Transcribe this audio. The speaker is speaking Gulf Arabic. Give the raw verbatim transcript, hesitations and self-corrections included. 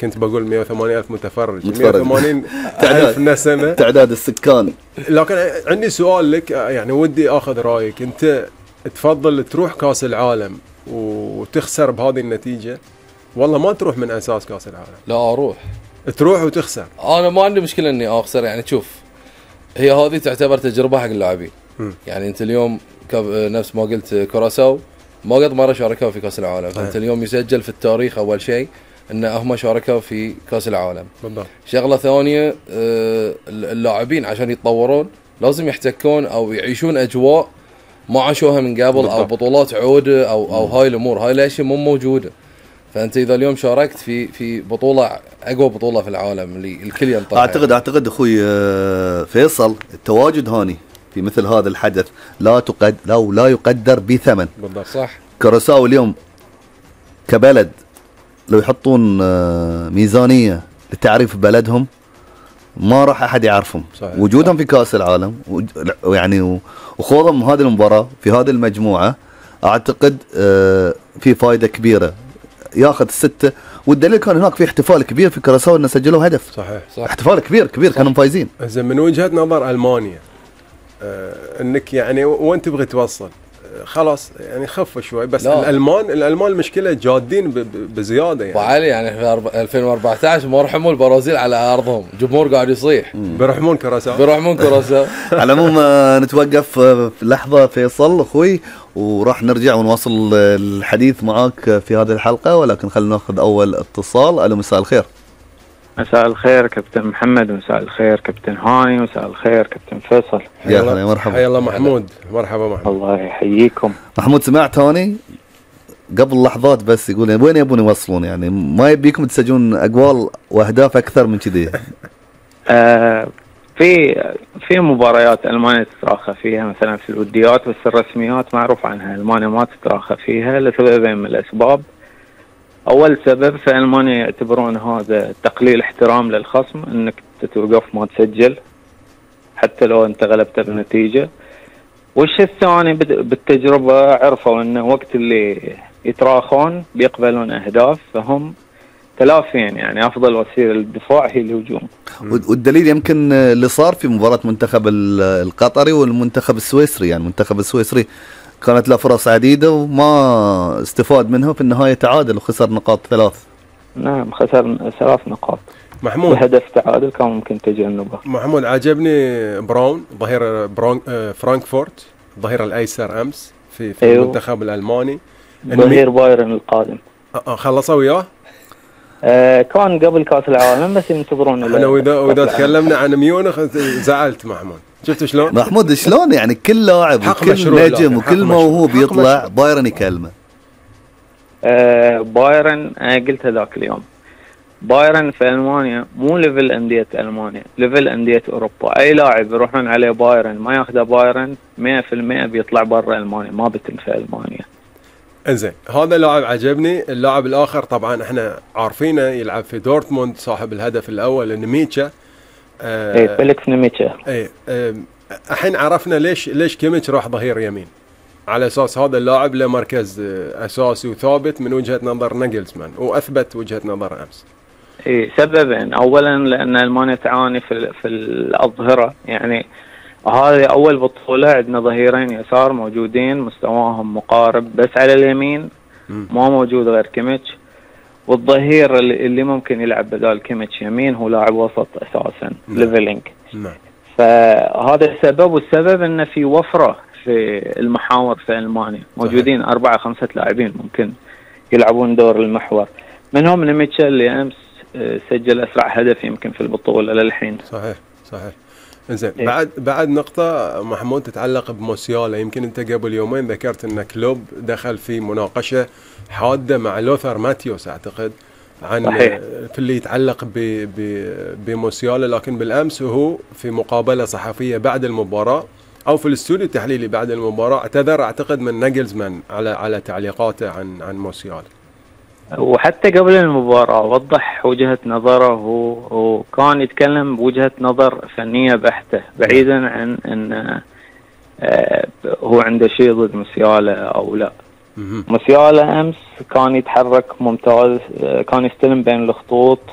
كنت بقول مئة وثمانين ألف متفرج, مئة وثمانين ألف نسمة تعداد السكان. لكن عندي سؤال لك, يعني ودي أخذ رأيك, أنت تفضل تروح كاس العالم وتخسر بهذه النتيجة, والله ما تروح من أساس كاس العالم؟ لا أروح. تروح وتخسر؟ أنا ما عندي مشكلة إني أخسر. يعني شوف, هي هذه تعتبر تجربة حق اللاعبين. يعني أنت اليوم نفس ما قلت كوراساو ما قد مرة شاركوا في كاس العالم, فأنت اليوم يسجل في التاريخ أول شيء ان هم شاركوا في كاس العالم. بالضبط. شغله ثانيه, اللاعبين عشان يتطورون لازم يحتكون او يعيشون اجواء ما عاشوها من قبل. بالضبط. او بطولات عوده او او هاي الامور, هاي الاشياء مو موجوده. فانت اذا اليوم شاركت في في بطوله اقوى بطوله في العالم اللي الكل ينطلع, اعتقد اعتقد اخوي فيصل التواجد هاني في مثل هذا الحدث لا تقد لا لا يقدر بثمن. بالضبط. صح. كوراساو اليوم كبلد لو يحطون ميزانية لتعريف بلدهم ما راح أحد يعرفهم. صحيح. وجودهم في كأس العالم ويعني وخوضهم هذه المباراة في هذه المجموعة أعتقد في فائدة كبيرة, ياخذ الستة. والدليل كان هناك في احتفال كبير في كوراساو أنه سجلوا هدف. صحيح. صح. احتفال كبير كبير. صح. كانوا فايزين. زين, من وجهة نظر ألمانيا آه انك يعني وين تبغي توصل؟ خلاص يعني خف شوي بس. لا. الالمان الالمان المشكله جادين بزياده يعني. وعلي يعني في ألفين وأربعة عشر ما رحموا البرازيل على ارضهم, جمهور قاعد يصيح بيرحمون كوراساو بيرحمون كوراساو. على العموم نتوقف في لحظه فيصل اخوي, وراح نرجع ونواصل الحديث معاك في هذه الحلقه, ولكن خلينا ناخذ اول اتصال. الو, مساء الخير. مساء الخير كابتن محمد, ومساء الخير كابتن هاني, ومساء الخير كابتن فيصل. يا هلا, مرحبا. حيا الله محمود. مرحبا محمود. الله يحييكم. محمود, سمعت هاني قبل لحظات بس يقول وين يبون يوصلون, يعني ما يبيكم تسجلون اقوال واهداف اكثر من كذي. آه في في مباريات المانيا تتراخى فيها مثلا في الوديات, بس الرسميات معروف عنها المانيا ما تتراخى فيها لسببين من الاسباب. أول سبب في ألمانيا يعتبرون هذا تقليل احترام للخصم, أنك تتوقف ما تسجل حتى لو أنت غلبت بنتيجة. والشيء الثاني بالتجربة عرفوا أن وقت اللي يتراخون بيقبلون أهداف, فهم تلافين يعني أفضل وسيلة للدفاع هي الهجوم. والدليل يمكن اللي صار في مباراة منتخب القطري والمنتخب السويسري, يعني المنتخب السويسري كانت له فرص عديدة وما استفاد منها, في النهاية تعادل وخسر نقاط ثلاث. نعم, خسر ثلاث نقاط. محمود, وهدف تعادل كان ممكن تجنبه. محمود, عجبني براون ظهير برون فرانكفورت, ظهير الأيسر أمس في, في أيوه. المنتخب الألماني. ظهير بايرن القادم. أه خلصوا وياه؟ آه كان قبل كأس العالم بس ينتظرون. أنا وإذا وإذا تكلمنا عن ميونخ زعلت محمود. شفت شلون محمود شلون يعني كل لاعب وكل نجم وكل موهوب يطلع بايرن يكلمه. آه بايرن آه قلت هذاك اليوم, بايرن في ألمانيا مو ليفل أندية ألمانيا, ليفل أندية أوروبا. أي لاعب يروحون عليه بايرن ما ياخذه بايرن مئة في المئة بيطلع برا ألمانيا, ما بتن في ألمانيا. انزين, هذا لاعب عجبني. اللاعب الآخر طبعا احنا عارفينه يلعب في دورتموند, صاحب الهدف الأول نيميتشا. آه ايه فيليكس نيميتشا. ايه الحين عرفنا ليش ليش كيميتش راح ظهير يمين, على اساس هذا اللاعب له مركز اساسي وثابت من وجهة نظر ناجلزمان, واثبت وجهة نظر امس. ايه سببين, اولا لان المانيا تعاني في في الاظهرة, يعني هذه اول بطولة عندنا ظهيرين يسار موجودين مستواهم مقارب, بس على اليمين ما موجود غير كيميتش, والظهير اللي, اللي ممكن يلعب بدال كيميتش يمين هو لاعب وسط اساسا ليفلينج. نعم. فهذا السبب, والسبب انه في وفرة في المحاور في ألمانيا, موجودين صحيح. أربعة خمسة لاعبين ممكن يلعبون دور المحور, منهم نيميتشا اللي أمس سجل أسرع هدف يمكن في البطولة للحين. صحيح صحيح. إنزين, إيه؟ بعد بعد نقطة محمود تتعلق بموسيالا. يمكن أنت قبل يومين ذكرت أن كلوب دخل في مناقشة حادة مع لوثر ماتيوس أعتقد عن صحيح. في اللي يتعلق بموسيالا, لكن بالأمس وهو في مقابلة صحفية بعد المباراة أو في الاستوديو التحليلي بعد المباراة اعتذر أعتقد من ناجلزمان على على تعليقاته عن عن موسيالا. وحتى قبل المباراة وضح وجهة نظره, وكان يتكلم بوجهة نظر فنية بحتة بعيدا عن أن هو عنده شيء ضد موسيالا أو لا. موسيالا امس كان يتحرك ممتاز، كان يستلم بين الخطوط